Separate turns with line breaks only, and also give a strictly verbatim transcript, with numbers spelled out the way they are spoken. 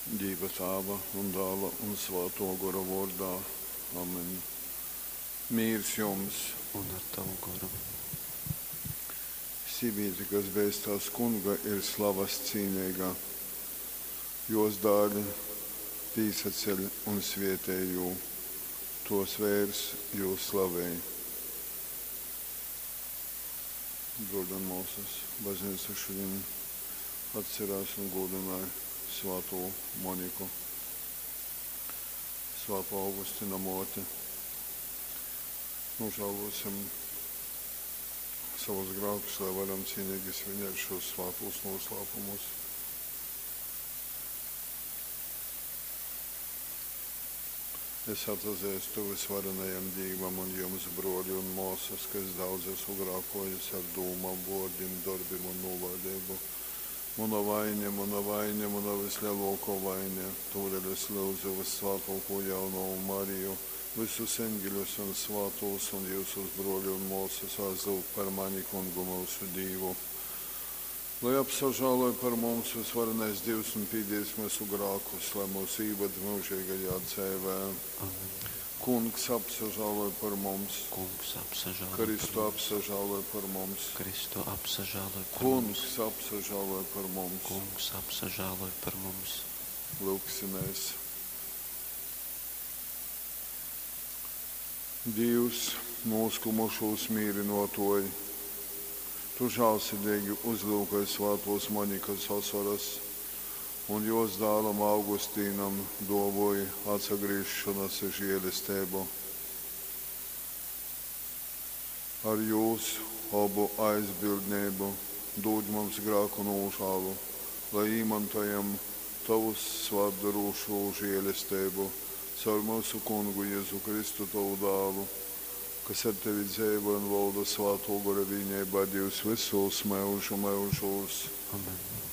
Dīva Tāva un Dāla un Svātō Gora vōrdā. Amen. Mīrs jums!
Un ar tavu goru.
Sīvīte, kas beistās Kunga, ir slavas cīneiga. Jōs dāli pīsaceļ un svētej jū, tōs veirs jū slavej. Brōļi un mōsas, baznīca šodien atcerās un godināja Svātū Moniku, Svātō Augustina mōti. Nožēlosim savus grēkus, lai varam cienīgi svinēt šos svātos noslēpumus. Es atzīstu visvarenajam Dievam un jums, broļi un māsas, ka es daudz esmu grēkojis ar dūmām, vārdiem, darbiem un nolaidību. Mana vaina, mana vaina, mana vislielākā vaina. Tādēļ es lūdzu vissvētāko jaunavu Mariju, visus eņģeļus un svētos un jūsus broļi un māsas aizlūgt par mani kungu mūsu Dievu. Lai apsažāloj par mums visvarenais Dievs un pīdies mūsu grēkus, lai mūs ieved mūžīgajā dzīvē.
Amen.
Kungs apsažāloj par mums,
Kungs apsažāloj
Kristu
par mums.
apsažāloj par mums,
Kristu apsažāloj par
Kungs
mums.
apsažāloj par mums.
Kungs apsažāloj par mums.
Lūgsimies. Dievs, noskumušos mīrinotoji, Tu žēlsirdīgi uzlūkoji svētos Monikas asaras un jos dēlam Augustīnam dāvāji atsagriešanas žēlastību. Ar jūsu abu aizbildnību dod mums grēku nožēlu, lai īmantojam Tavu svētdarošo žēlastību caur mūsu Kungu Jēzu Kristu, Tavu dēlu, kas ar tevi dzīvo un valda Svētō Gora vienībā Dievs visos mūžu mūžos.
Amen.